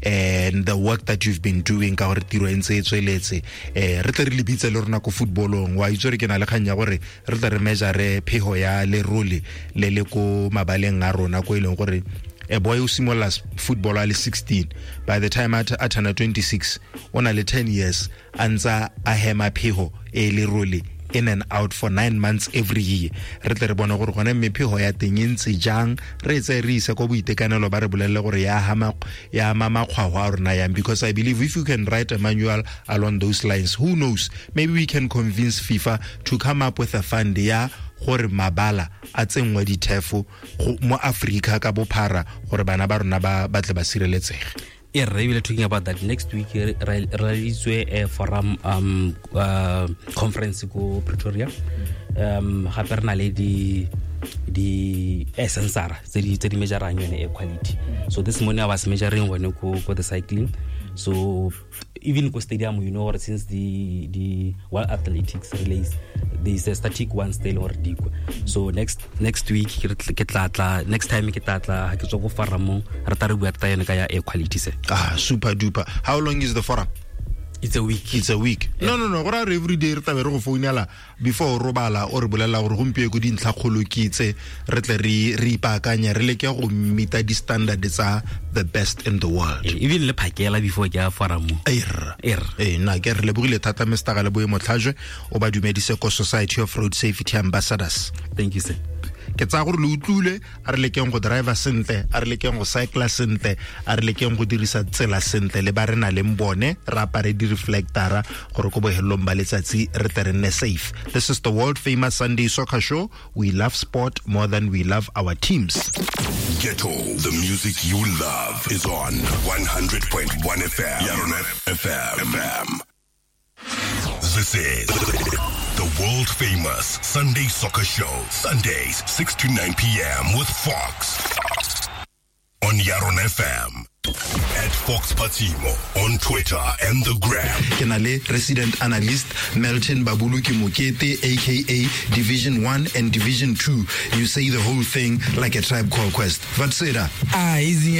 And the work that you've been doing ka gore tiro e ntse e tsweletse. Re tle re lebitse le rona ko footballong, wa itse gore ke na le kgang ya gore re tle re measure phego ya lerole le le ko mabaleng a rona, ko e leng gore a boy o simolola football a le 16, by the time a turna 26 o na le 10 years a ntsa a hema phego e lerole in and out for 9 months every year. Re tle re bone gore gone mme phego ya teng e ntse jang, re e tseye re ise ko boitekanelo ba re bolelele gore ya ama makgwao a rona yang, because I believe if you can write a manual along those lines, who knows, maybe we can convince FIFA to come up with a fund ya gore mabala a tsenngwe dithefo mo Afrika ka bophara gore bana ba rona ba tle ba sireletsege. Yeah, we are talking about that next week. Re forum conference go Pretoria. Gape re na le di sensor tse di measurang yone air quality. So this morning I was measuring one go the cycling. So even go stadium, you know, since the World Athletics release, there is a static one still or dikwa. So next week ke tla next time ke tla ha ke tswa go forum re tla re bua tsa yone ka ya air quality se. Ah, super duper. How long is the forum? It's a week. It's a week. Yeah. No. Go ra every day re tla be re go founela before robala o re bolela gore gompieno ko dintlha kgolo ke itse re tle re ipaakanye re leke go meeta di standard tsa the best in the world. Even le phakela before ke a forum. Eh na ke re lebogile thata Mr. Galeboe Motlhajwe, o ba dumedise ko Society of Road Safety Ambassadors. Thank you, sir. Ke tsaya gore le utlwile, a re lekeng go driver sentle, a re lekeng go cycler sentle, a re lekeng go dirisa tsela sentle le ba re na leng bone, re apare di-reflectora gore ko bohelong ba letsatsi re tle re nne safe. This is the world famous Sunday Soccer Show. We love sport more than we love our teams. Ghetto, the music you love is on 100.1 FM. Yarona FM. This is the world famous Sunday Soccer Show. Sundays, 6 to 9 p.m. with Fox on Yaron FM. At Fox Patimo on Twitter and the Gram. Ke na le resident analyst Melton Babuluki Mokete, aka Division 1 and Division 2. You say the whole thing like a Tribe Called Quest. Vatsera. Ah, easy.